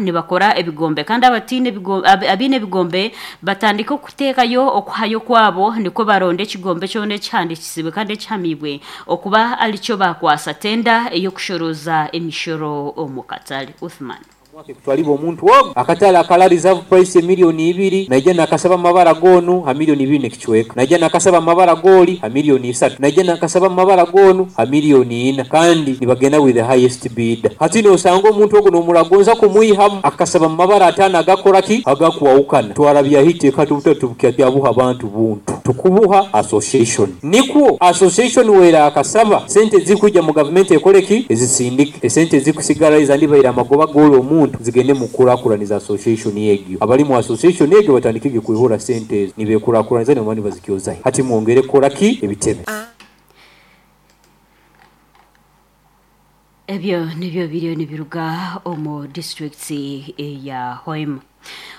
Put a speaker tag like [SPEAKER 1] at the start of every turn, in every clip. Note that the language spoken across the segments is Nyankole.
[SPEAKER 1] nibakora ebigombe kandi abataine abaine ebigombe batandike okuteekayo okuhayo kwabo nikwo baronde ekigombe kyona ekihandiikisibwe kandi ekihamiibwe okuba arikyo baakwasa tenda ey'okushorooza emishoro omu katare. Uthman.
[SPEAKER 2] Omwaka ekutwalibwa omuntu ogu akatale akala reserve price emilioni ibiri naija nakasaba amabara g'onu ha milioni ibiri n'ekicweka, naija nakasaba amabara g'oli ha milioni isatu, naija nakasaba amabara g'onu ha milioni ina kandi nibagenda with the highest bidder. Hati nosanga omuntu ogu nomuragonza kumwihamu akasaba mumabara atano agakora ki? Agakwahukana. Twarabyaho eiteeka tubutari abantu buntu, tukubuha association. Nikwo association w'erakasaba sente ezirikwija mu gavumenti ekore ki? Ezisindike. Esente ezirikusigara ezandibaire amagoba g'ori omuntu zigende mu kukurakuraniza association egyo. Abari mu association egyo batandike gye kwihura sente ezo nibekurakuraniza nibaba nibazikyozahi. Hati mwongere kukora ki? Ebitebe.
[SPEAKER 1] Ebyo nibyo biriyo nibiruga omu disiturikiti eya Hoima.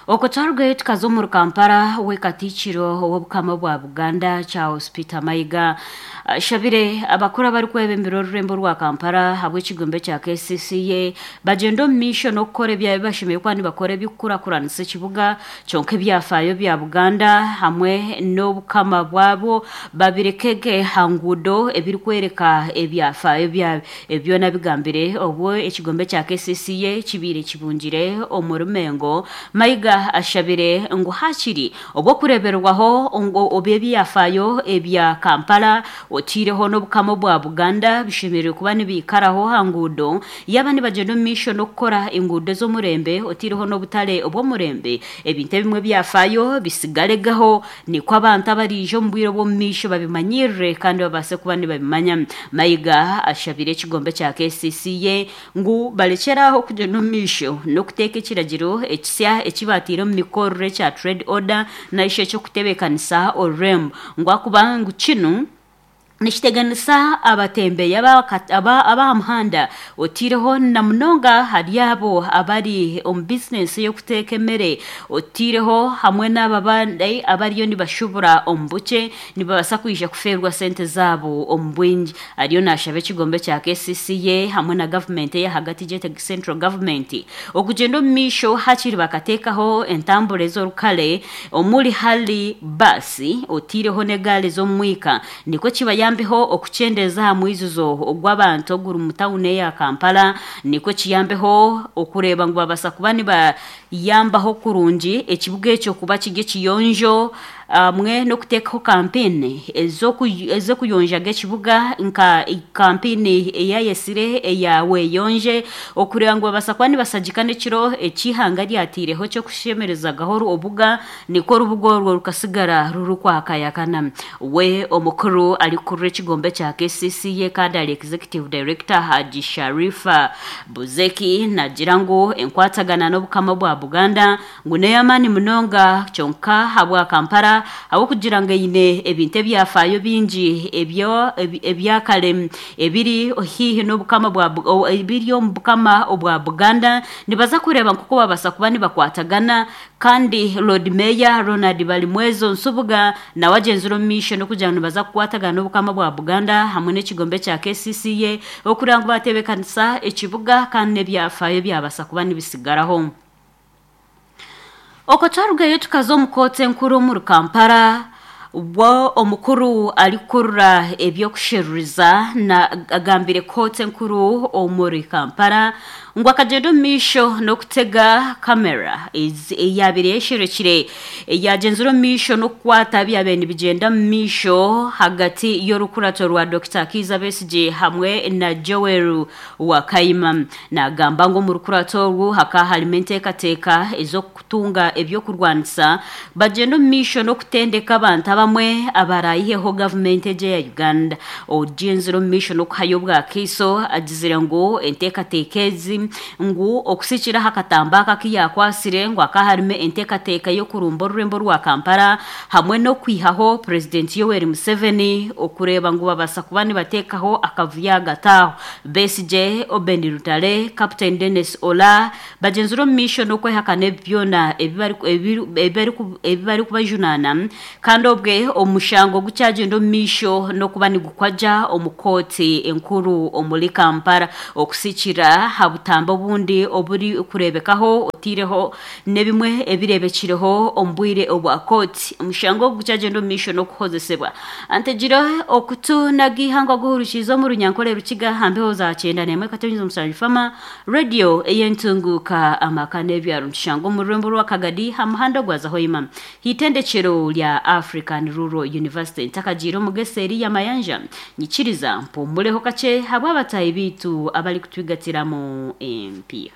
[SPEAKER 1] Okwo twarugayo tukaza omuri Kampala we Katiikiro w'Obukama bwa Buganda Charles Peter Mayiga ashabire abakuru abarikwebembera orurembo rwa Kampala ahabw'ekigombe kya KCCA bagyende omu maisho n'okukora ebi bashemereire kuba nibakora eby'okukurakuranisa ekibuga Kyonka ebyafaayo bya Buganda hamwe n'obukama bwabwo babirekege ha nguudo ebirikworeka ebyafaayo byabyo. Ebi byona abigambire obu ekigombe kya KCCA kibaire kibungire omuri Mengo. Mayiga ashabire ngu hakiri obw'okureeberwaho ngu ebyafaayo ebya Kampala oteireho n'obukama obwa Buganda bishemereire kuba nibiikaraho aha nguudo Yaaba nibagyenda omu maisho n'okukora enguudo ez'omurembe otaireho n'obutare obw'omurembe, ebintu ebimwe ebyafaayo bisigaregaho nikwo abantu abariija omu bwire obw'omu maisho babimanyirire kandi babaase kuba nibabimanya. Mayiga ashabire ekigombe kya KCCA ngu barekyere aho kugyenda omu maisho n'okuteeka ekiragiro ekisya eki baataire omu mikorere ekya Trade Order narishi eky'okutebeekanisa orurembo ngu ahakuba ngu kinu Nikiteganisa abatembeyi ab'aha muhanda otaireho na munonga ahari abo abari omu bizinesi ey'okuteeka emere otaireho hamwe n'abo abandi abariyo nibashubura omu bukye nibabaasa kwija kufeerwa sente zaabo omu bwingi. Ariyo naashaba ekigombe kya KCCA hamwe na gavumenti ey'ahagati gyete Central Government okugyenda omu maisho hakiri bakateekaho entambura ez'orukare omuri hali baasi otaireho n'egaari z'omu mwika nikwo kibayambeho okukyendeeza aha mwijuzo ogw'abantu oguri mu tawuni eya Kampala nikwo kiyambeho okureeba ngu babaasa kuba nibayambaho kurungi ekibuga ekyo kuba kiri ekiyonjo hamwe n'okuteekaho kampeyini ez'okuyonjaga ekibuga nka kampeyini eyayetsire eya weyonje okureeba ngu babaasa kuba nibashagika n'ekiro eki eihanga ryataireho eky'okushemerezagaho obuga Nikwo orubuga orwo rukatsigara rurikwakayakana. We omukuru arikukurira ekigombe kya KCCA kandi ari Executive Director Hajji Sharifa Buzeki nagira ngu enkwatagana n'Obukama bwa Buganda ngu n'ey'amaani munonga kyonka ahabwa Kampala ahabw'okugira ngu eine ebintu ebyafaayo bingi ebya kare ebiri haihi n'Obukama bwa ebiri omu Bukama obwa Buganda nibaza kureeba nk'oku babaasa kuba nibakwatagana Kandi Loodi Meeya Ronald Balimwezo Nsubuga nawe agyenzire omu maisho n'okugira ngu nibaza kukwatagana n'Obukama bwa Buganda hamwe n'ekigombe kya KCCA okureba ngu bateebekanisa ekibuga kandi n'ebyafaayo byabasa kuba nibisigaraho. Okwo twarugayo tukaza omu kooti enkuru omuri Kampala Obwo omukuru arikukurira eby'okusheruriza na agambire kooti enkuru omuri Kampala ngu akagyenda omu maisho n'okutega kamera eyaabaire eyesherekire eyagyenzire omu maisho n'okukwata ebyabaire nibigyenda omu maisho ahagati y'orukurato rwa Dokita Kiiza Besigye hamwe na Joel Wakayima. Naagamba ngu omu rukurato orwo hakaba harimu enteekateeka ez'oku kutunga eby'okurwanisa bagyenda omu maisho n'okutendeka abantu abamwe abaraayiheho gavumenti egi eya Uganda. Ogyenzire omu maisho n'okuhayo obwakaiso agizire ngu enteekateeka ezi ngu okusikira aha katambi aka aku yaakwatsire ngu hakaba harimu enteekateeka y'okurumba orurembo rwa Kampala hamwe n'okwihaho Purezidenti Yoweri Museveni okureeba ngu babaasa kuba nibateekaho akavuyo ahagati aho. Besigye, Oben Rutale, Captain Denis Ola, Bagyenzire omu maisho n'okwehakana ebi byona ebi barikubajunaana kandi obwe omushango gukyagyenda omu maisho n'okuba nigukwagya omu kooti enkuru omuri Kampala okusikira aha butandikiro. obutambi obundi oburikureebekaho otaireho n'ebimwe ebireebekireho omu bwire obwa kooti. Omushango ogu gukyagyenda omu maisho n'okuhozesebwa. Antegire okutu n'ag'eihanga oguhurikiize omu Runyankore Rukiga aha mbeho za 91.7 Fama Radio ey'entunguuka amaka n'ebyaro nitushanga omu rurembo rwa Kagadi aha muhanda ogwaza Hoima h'eitendekyero rya African Rural University. Ntakagiire omu g'eseeri y'amayanja nyikiriza mpumureho kakye habw'abataahi baitu abarikutwigatiramu empiiha.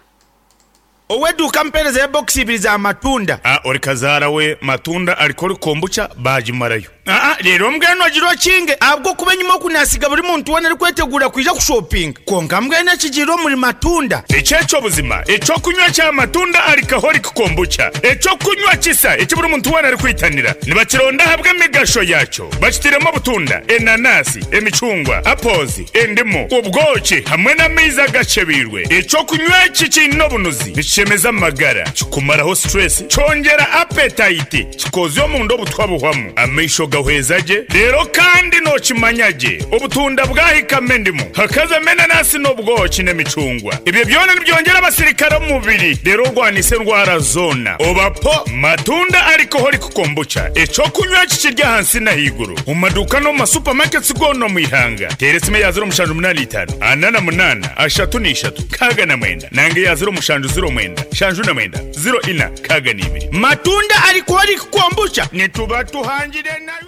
[SPEAKER 3] Ow'eduuka ampeereza ya bokisi ibiri za matunda.
[SPEAKER 4] A Ori kazaara we matunda ariko ori kombucha baagimarayo.
[SPEAKER 3] Aa Reero mbwenu ogire okinge ahabw'okuba enyima oku naasiga buri muntu weena arikweteguura kwija kushopinga. Kwonka mbwenu ekigiire omuri matunda.
[SPEAKER 4] Eki eky'obuzima, eky'okunywa kya matunda alcoholic kombucha, eky'okunywa kisa eki buri muntu weena arikwitanira. Nibakironda ahabw'emigasho yaakyo. Bakitairemu obutunda, enanasi, emicungwa, apples, endimu, obwoki hamwe n'amaizi agakyebeirwe. Eky'okunywa eki kiine obunuzi, nikishemeza amagara, kikumaraho stress, kyongyera appetite, kikoozya omunda obutwa buhwamu, amaisho gahweza gye, reero kandi nookimanya gye obutunda bwahikamu endimu, hakazamu enanasi n'obwoki n'emicungwa. Ebyo byona nibyongyera abasirikare omu mubiri reero orwanise endwara zoona. Oba po matunda alcoholic kombucha, eky'okunywa eki kiri ahansi n'ahaiguru omu maduuka n'omu ma supermarkets goona omu ihanga. Teera esimu eya 0785 48 33 69 nanga eya 0709 79 04 62.
[SPEAKER 3] Matunda alcoholic kombucha nituba tuhangire nayo.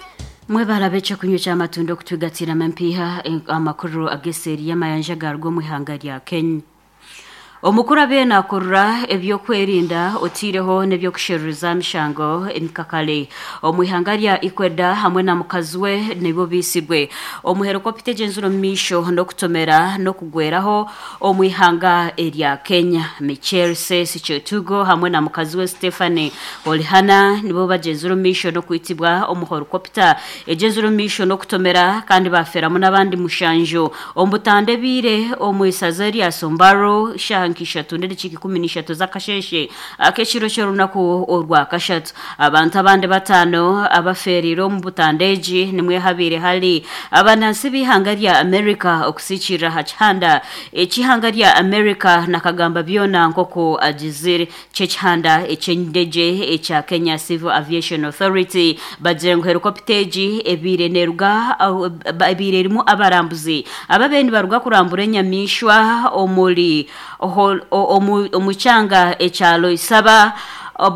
[SPEAKER 1] Mwebare ab'ekyokunywa ky'amatunda okutwigatiramu empiiha amakuru ag'eseeri y'amayanja agaruga omu ihanga rya Kenya. Omukuru abaire nakurura eby'okwerinda otaireho n'ebyokusheruriza aha mishango emikakare omu ihanga rya Ecuador hamwe na mukazi we nibo baitsirwe omu herikopita egyenzire omu maisho n'okutomera n'okugweraho omu ihanga erya Kenya. Michel Sesi Chetugo hamwe na mukazi we Stephanie Olihana nibo bagyenzire omu maisho n'okwitibwa omu herikopita egyenzire omu maisho n'okutomera kandi baafeeramu n'abandi mushanju omu butanda ebaire omu isaza erya Sombaro shaaha nka ishatu n'edakiika 13 z'akasheeshe ak'ekiro ky'orunaku orwakashatu. Abantu abandi bataano abafeereire omu butanda egi nimwe habaire hari abanansi b'eihanga rya America okusiikirira aha kihanda eky'eihanga rya America nakagamba byona nk'oku agizire ky'ekihanda eky'endegye ekya Kenya Civil Aviation Authority bagire ngu herikopita egi ebaire neeruga ebaire erimu abarambuzi ababaire nibaruga kurambura enyamaishwa omuri omu kyanga ekya Loisaba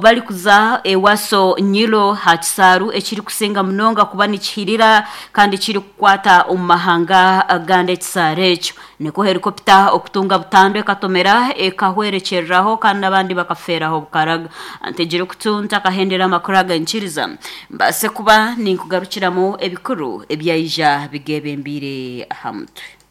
[SPEAKER 1] barikuza Ewaso Nyiro aha kisaaru ekirikusinga munonga kuba nikihirira kandi kirikukwata omu mahanga agandi ekisaaru ekyo. Nikwo herikopita okutunga butandu ekatomera ekahwerekyereraho kandi n'abandi bakafeeraho bukaraga. Ntegire okutu ntakahendera amakuru aga nyikiriza mbaase kuba ninkugarukiramu ebikuru ebyaija bigeebembeire aha mutwe.